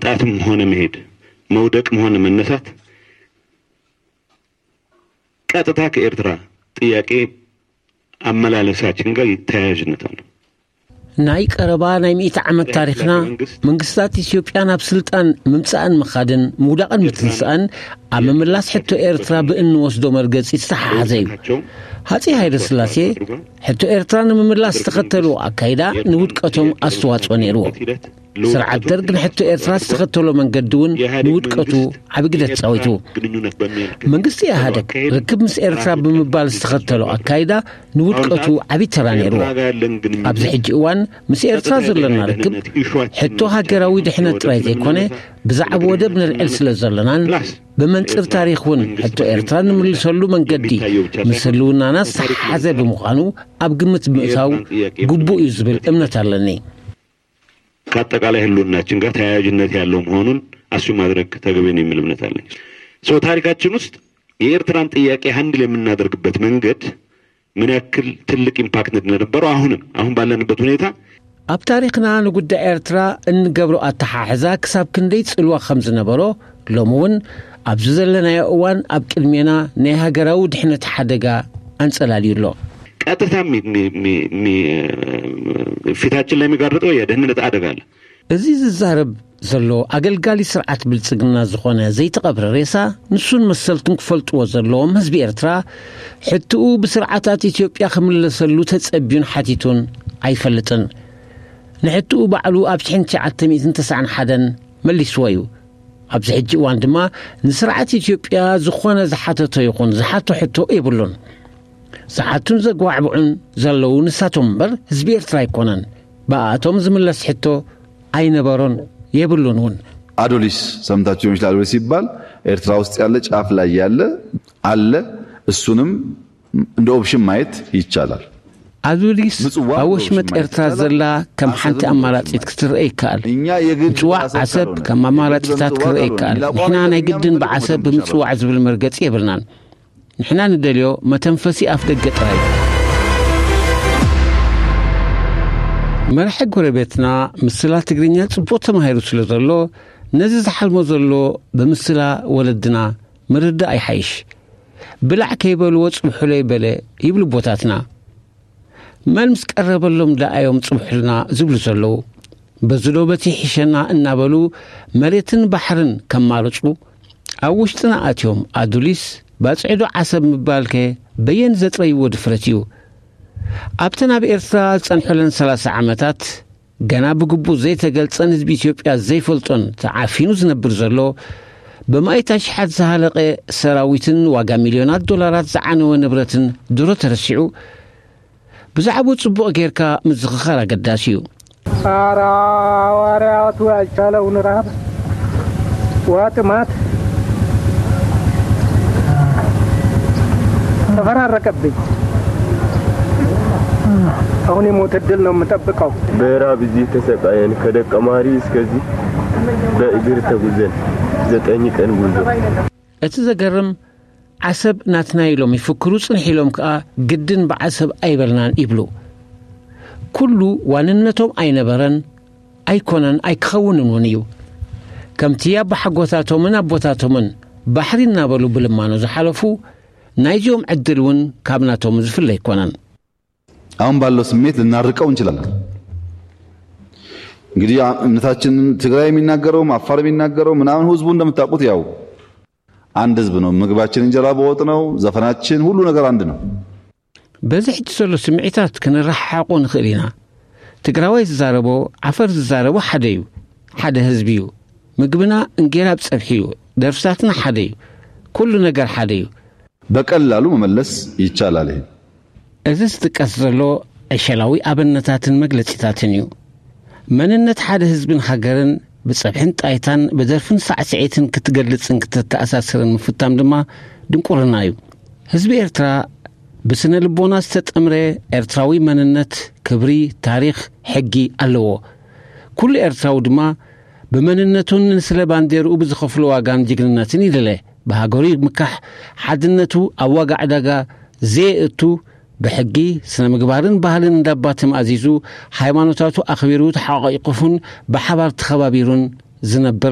መምጣትም ሆነ መሄድ፣ መውደቅም ሆነ መነሳት ቀጥታ ከኤርትራ ጥያቄ አመላለሳችን ጋር ተያያዥነት አለው። ናይ ቀረባ ናይ ሚእቲ ዓመት ታሪኽና፣ መንግስታት ኢትዮጵያ ናብ ስልጣን ምምጻእን ምኻድን ምውዳቕን ምትንሳእን ኣብ ምምላስ ሕቶ ኤርትራ ብእንወስዶ መርገጺ ዝተሓሓዘ እዩ። ሃጺ ሃይለ ስላሴ ሕቶ ኤርትራ ንምምላስ ዝተኸተልዎ ኣካይዳ ንውድቀቶም ኣስተዋጽኦ ነይርዎ። ስርዓት ደርግ ንሕቶ ኤርትራ ዝተኸተሎ መንገዲ እውን ንውድቀቱ ዓቢ ግደ ተጻዊቱ። መንግስቲ ኢህኣደግ ርክብ ምስ ኤርትራ ብምባል ዝተኸተሎ ኣካይዳ ንውድቀቱ ዓቢ ተራ ነይርዎ። ኣብዚ ሕጂ እዋን ምስ ኤርትራ ዘለና ርክብ ሕቶ ሃገራዊ ድሕነት ጥራይ ዘይኮነ፣ ብዛዕባ ወደብ ነልዕል ስለ ዘለናን ብመንጽር ታሪኽ እውን ሕቶ ኤርትራ ንምልሰሉ መንገዲ ምስ ህልውናና ዝተሓሓዘ ብምዃኑ ኣብ ግምት ብምእታው ግቡእ እዩ ዝብል እምነት ኣለኒ። ከአጠቃላይ ህልውናችን ጋር ተያያዥነት ያለው መሆኑን አሱ ማድረግ ተገቢ ነው የሚል እምነት አለኝ። ሶ ታሪካችን ውስጥ የኤርትራን ጥያቄ ሃንድል የምናደርግበት መንገድ ምን ያክል ትልቅ ኢምፓክት እንደነበረው አሁንም አሁን ባለንበት ሁኔታ ኣብ ታሪኽና ንጉዳይ ኤርትራ እንገብሮ ኣተሓሕዛ ክሳብ ክንደይ ጽልዋ ከም ዝነበሮ፣ ሎሚ እውን ኣብዚ ዘለናዮ እዋን ኣብ ቅድሜና ናይ ሃገራዊ ድሕነት ሓደጋ ኣንጸላልዩ ኣሎ። ቀጥታ የሚ- የሚ- የሚ- የሚ- ፊታችን ላይ የሚጋርጠው የደህንነት አደጋ አለ። እዚ ዝዛረብ ዘሎ ኣገልጋሊ ስርዓት ብልጽግና ዝኾነ ዘይተቐብረ ሬሳ፣ ንሱን መሰልቱን ክፈልጥዎ ዘለዎም ህዝቢ ኤርትራ፣ ሕትኡ ብስርዓታት ኢትዮጵያ ክምለሰሉ ተጸብዩን ሓቲቱን ኣይፈልጥን። ንሕትኡ ባዕሉ ኣብ ሽሕን ትሽዓተ ሚእትን ተስዓን ሓደን መሊስዎ እዩ። ኣብዚ ሕጂ እዋን ድማ ንስርዓት ኢትዮጵያ ዝኾነ ዝሓተቶ ይኹን ዝሓቶ ሕቶ የብሉን። ዝሓቱን ዘጓዕብዑን ዘለዉ ንሳቶም እምበር ህዝቢ ኤርትራ ኣይኮነን። ብኣቶም ዝምለስ ሕቶ ኣይነበሮን የብሉን እውን። አዶሊስ ሰምታችሁ ሊሆን ይችላል። አዶሊስ ሲባል ኤርትራ ውስጥ ያለ ጫፍ ላይ ያለ አለ። እሱንም እንደ ኦፕሽን ማየት ይቻላል። ኣዱሊስ ምጽዋዕ ኣብ ወሽመጥ ብወሽመጥ ኤርትራ ይቻላል። ዘላ ከም ሓንቲ ኣሰብን ኣማራጺት ብወሽመጥ። ክትረአ ይከኣል። እኛ የግድ ምጽዋዕ ዓሰብ ዓሰብ ካልሆነ፣ ከም ኣማራጺታት የግድ ክረአ በምጽዋዕ ይከኣል። ካልሆነ፣ ሌላ ንሕና ቦታ ናይ ግድን የምንመርጥ ብዓሰብ ነገር ብምጽዋዕ ዝብል መርገጺ የብልናን። ንሕና ንደልዮ መተንፈሲ ኣፍ ደገ ጥራይ። መራሒ ጎረቤትና ምስላ ትግርኛ ጽቡቕ ተማሂሩ ስለ ዘሎ፣ ነዚ ዝሓልሞ ዘሎ ብምስላ ወለድና ምርዳእ ይሓይሽ። ብላዕ ከይበልዎ ጽብሑለይ በለ ይብሉ ኣቦታትና። መን ምስ ቀረበሎም ደኣ እዮም ጽብሑልና ዝብሉ ዘለዉ። በዚ ዶ በቲ ይሕሸና እናበሉ መሬትን ባሕርን ከማርጹ ኣብ ውሽጥና ኣትዮም ኣዱሊስ ባጽዕዶ ዓሰብ ምባልከ በየን ዘጥረይዎ ድፍረት እዩ? ኣብተን ኣብ ኤርትራ ዝጸንሑለን ሰላሳ ዓመታት ገና ብግቡእ ዘይተገልጸን ህዝቢ ኢትዮጵያ ዘይፈልጦን ተዓፊኑ ዝነብር ዘሎ፣ ብማእት ኣሽሓት ዝሃለቐ ሰራዊትን ዋጋ ሚልዮናት ዶላራት ዝዓነወ ንብረትን ድሮ ተረሲዑ፣ ብዛዕባኡ ጽቡቕ ጌርካ ምዝኽኻር ኣገዳሲ እዩ። ኧረ ሐዋርያቱ ያልቻለውን ረሃብ፣ ውሃ ጥማት ተፈራረቀብኝ። አሁን የሞት እድል ነው የምጠብቀው። በራብ እዚህ ተሰቃየን፣ ከደቀ ማሪ እስከዚህ በእግር ተጉዘን ዘጠኝ ቀን ጉዞ። እቲ ዘገርም፣ ዓሰብ ናትና ኢሎም ይፍክሩ ጽንሕ ኢሎም ከኣ ግድን ብዓሰብ ኣይበልናን ይብሉ። ኩሉ ዋንነቶም ኣይነበረን፣ ኣይኮነን፣ ኣይክኸውንን እውን እዩ። ከምቲ ኣቦሓጎታቶምን ኣቦታቶምን ባሕሪ እናበሉ ብልማኖ ዝሓለፉ፣ ናይዚኦም ዕድል እውን ካብ ናቶም ዝፍለ ኣይኮነን። አሁን ባለው ስሜት ልናርቀው እንችላለን። እንግዲህ እምነታችን ትግራይ የሚናገረውም አፋር የሚናገረው ምናምን ህዝቡ እንደምታውቁት ያው አንድ ህዝብ ነው። ምግባችን እንጀራ በወጥ ነው። ዘፈናችን ሁሉ ነገር አንድ ነው። በዚ ሕጂ ዘሎ ስምዒታት ክንረሓሓቆ ንኽእል ኢና። ትግራዋይ ዝዛረቦ፣ ዓፈር ዝዛረቦ ሓደ እዩ። ሓደ ህዝቢ እዩ። ምግብና እንጌራ ብጸብሒ እዩ። ደርፍታትና ሓደ እዩ። ኩሉ ነገር ሓደ እዩ። በቀላሉ መመለስ ይቻላል። ይሄ እዚ ዝጥቀስ ዘሎ ዕሸላዊ ኣብነታትን መግለጺታትን እዩ። መንነት ሓደ ህዝብን ሃገርን ብጸብሕን ጣይታን ብደርፍን ሳዕስዒትን ክትገልጽን ክትተኣሳስርን ምፍታም ድማ ድንቁርና እዩ። ህዝቢ ኤርትራ ብስነ ልቦና ዝተጠምረ ኤርትራዊ መንነት፣ ክብሪ፣ ታሪኽ፣ ሕጊ ኣለዎ። ኩሉ ኤርትራዊ ድማ ብመንነቱን ንስለ ባንዴርኡ ብዝኸፍሎ ዋጋን ጅግንነትን ይልለ። ብሃገሩ ይምካሕ፣ ሓድነቱ ኣብ ዋጋ ዕዳጋ ዘየእቱ፣ ብሕጊ፣ ስነ ምግባርን ባህልን እንዳባ ተማእዚዙ፣ ሃይማኖታቱ ኣኽቢሩ ተሓቋቂፉን ብሓባር ተኸባቢሩን ዝነብር